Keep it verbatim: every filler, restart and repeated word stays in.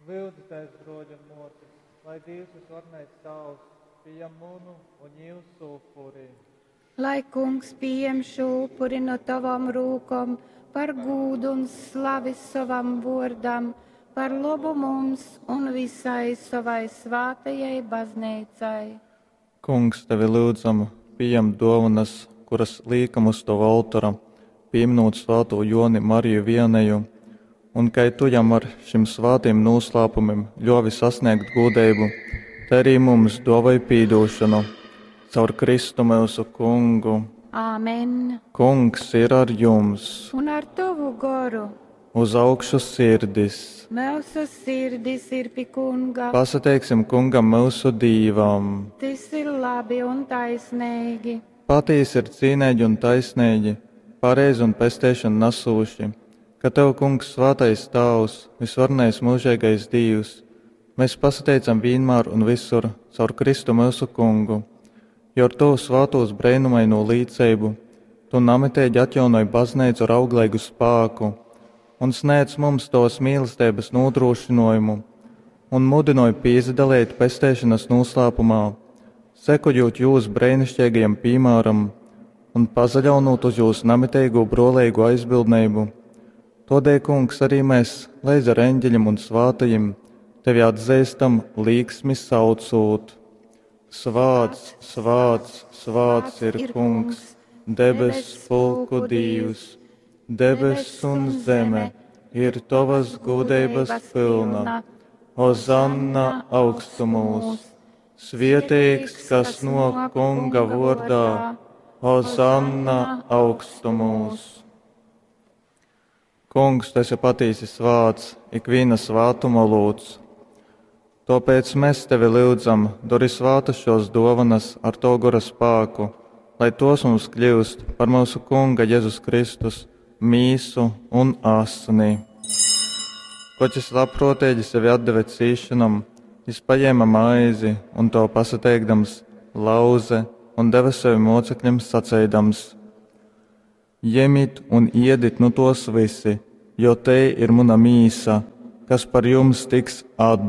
Lyudzitēs, bruoļi un muosys, lai Dīvs vysvarenais Tāvs pījam munu un jiusu upuri. Lai Kungs pījem šo upuri no tavom rūkom par gūdu un slavi sovam vōrdam, par lobu mums un visai sovai svātajai bazneicai. Kungs, tevi lyudzam, pījem dōvonas, kuras līkam uz tova oltora, pīminūt svātū Jōni Mariju Vianeju, un kai tu jam ar šim svātim nūslāpumim ļōvi sasnēgt gūdeibu, tai arī mums dōvoj pīdūšonu. Caur Kristu myusu Kungu. Āmen. Kungs ir ar jums. Un ar tovu goru. Uz augšu sirdis. Myusu sirdis ir pi Kunga. Pasateiksim Kungam myusu Dīvam. Tys ir labi un taisneigi. Patīsi ir cīneigi un taisneigi, pareizi un pesteišonu nasūši, ka tev, Kungs, svātais Tāvs, vysvarenais myužeigais Dīvs, mēs pasateicam vīnmār un visur caur Kristu myusu Kungu, jo ar tovu svātūs breinumaino līceibu tu namiteigi atjaunoj bazneicu ar augleigu spāku un sniedz mums tovas mīlesteibas nūdrošinājumu un mudinoj pīsadalīt pesteišanas noslēpumā, sekojot jūs brēnišķīgajam piemēram un pazaļaunot uz jūs namiteigū brōleigo aizbildneibu. Todēļ, Kungs, arī mēs, leidz ar eņģeļiem un svātajiem, tevi atzīstam līksmi saucot. Svāts, svāts, svāts ir Kungs, debess pulku Dīvs, debess un zeme ir tavas gudrības pilna. Ozanna augstumos, svietīgs, kas no Kunga vārdā, Ozanna augstumos. Kungs, tu esi patīsi svāts, ikviena svātuma lūdz. Tāpēc mēs tevi lūdzam, dori svātas šos dovanas ar to gora spēku, lai tos mums kļūst par mūsu Kunga Jēzus Kristus mīsu un asni. Koč jis labprōtīgi sevi atdeve cīšanam, jis paņēma maizi un to pasateikdams lauze un deva sevi mocekļiem saceidams: Jemit un iedit nu tos visi, jo te ir muna mīsa, kas par jums tiks atdota.